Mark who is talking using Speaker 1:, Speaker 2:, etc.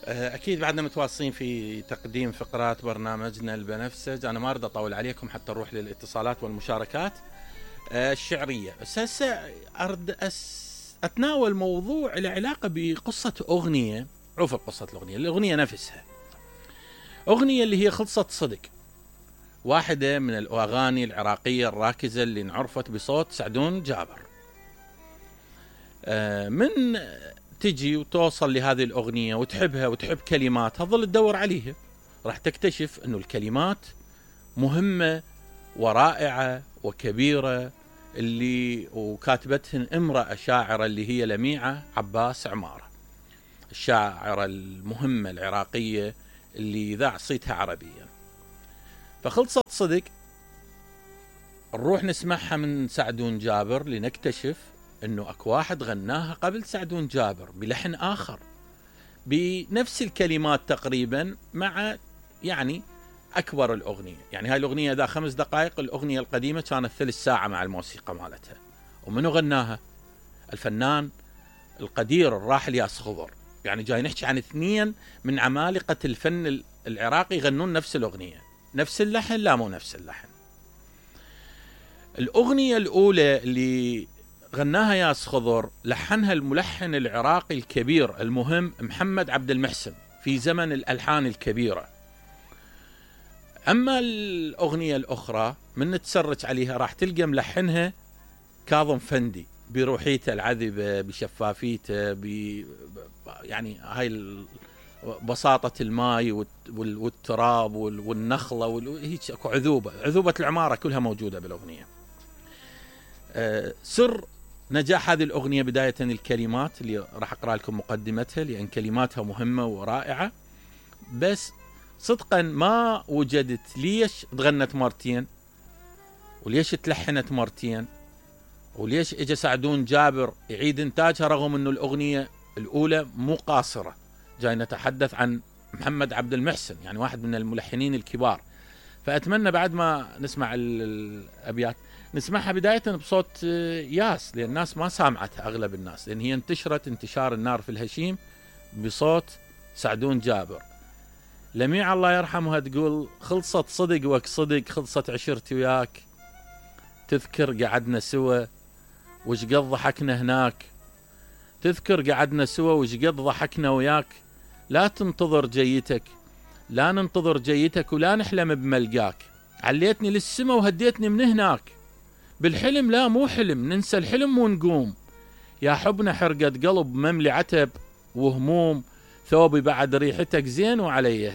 Speaker 1: أكيد بعدنا متواصلين في تقديم فقرات برنامجنا البنفسج. أنا ما أريد أطول عليكم حتى نروح للاتصالات والمشاركات الشعرية. بس هسه أريد أتناول موضوع له علاقة بقصة أغنية. عرف قصة الأغنية نفسها أغنية اللي هي خلصت صدق، واحدة من الأغاني العراقية الراكزة اللي انعرفت بصوت سعدون جابر. من تجي وتوصل لهذه الأغنية وتحبها وتحب كلماتها، ظل تدور عليها، راح تكتشف أنه الكلمات مهمة ورائعة وكبيرة، اللي وكاتبتهن امرأة شاعرة اللي هي لميعة عباس عمارة، الشاعرة المهمة العراقية اللي ذاع صيتها عربيا. فخلصت صدق نروح نسمعها من سعدون جابر لنكتشف انه اكو واحد غناها قبل سعدون جابر بلحن اخر بنفس الكلمات تقريبا، مع يعني اكبر الاغنيه. يعني هاي الاغنيه ذا 5 دقائق، الاغنيه القديمه كانت 3 ساعة مع الموسيقى مالتها. ومنو غناها؟ الفنان القدير الراحل ياس خضر. يعني جاي نحكي عن 2 من عمالقة الفن العراقي يغنون نفس الاغنيه، نفس اللحن؟ لا، مو نفس اللحن. الاغنيه الاولى اللي غناها ياس خضر لحنها الملحن العراقي الكبير المهم محمد عبد المحسن في زمن الألحان الكبيرة. أما الأغنية الأخرى من تسرج عليها راح تلقى ملحنها كاظم فندي بروحيته العذبة، بشفافيته، يعني هاي بساطة الماء والتراب والنخلة هيك اكو عذوبة العمارة كلها موجودة بالأغنية. سر نجاح هذه الأغنية بداية الكلمات اللي راح أقرأ لكم مقدمتها، لأن كلماتها مهمة ورائعة. بس صدقا ما وجدت ليش تغنت مرتين، وليش تلحنت مرتين، وليش اجى سعدون جابر يعيد انتاجها رغم انه الأغنية الأولى مو قاصرة. جاي نتحدث عن محمد عبد المحسن، يعني واحد من الملحنين الكبار. فأتمنى بعد ما نسمع الأبيات نسمعها بداية بصوت ياس، لأن الناس ما سامعتها أغلب الناس، لأن هي انتشرت انتشار النار في الهشيم بصوت سعدون جابر. لميع الله يرحمها تقول: خلصت صدق وك صدق، خلصت عشرتي وياك، تذكر قعدنا سوا وش قد ضحكنا هناك، تذكر قعدنا سوا وش قد ضحكنا وياك، لا تنتظر جيتك، لا ننتظر جيتك ولا نحلم بملقاك، عليتني للسما وهديتني من هناك، بالحلم لا مو حلم، ننسى الحلم ونقوم، يا حبنا حرقة قلب مملي عتب وهموم، ثوبي بعد ريحتك زين وعلي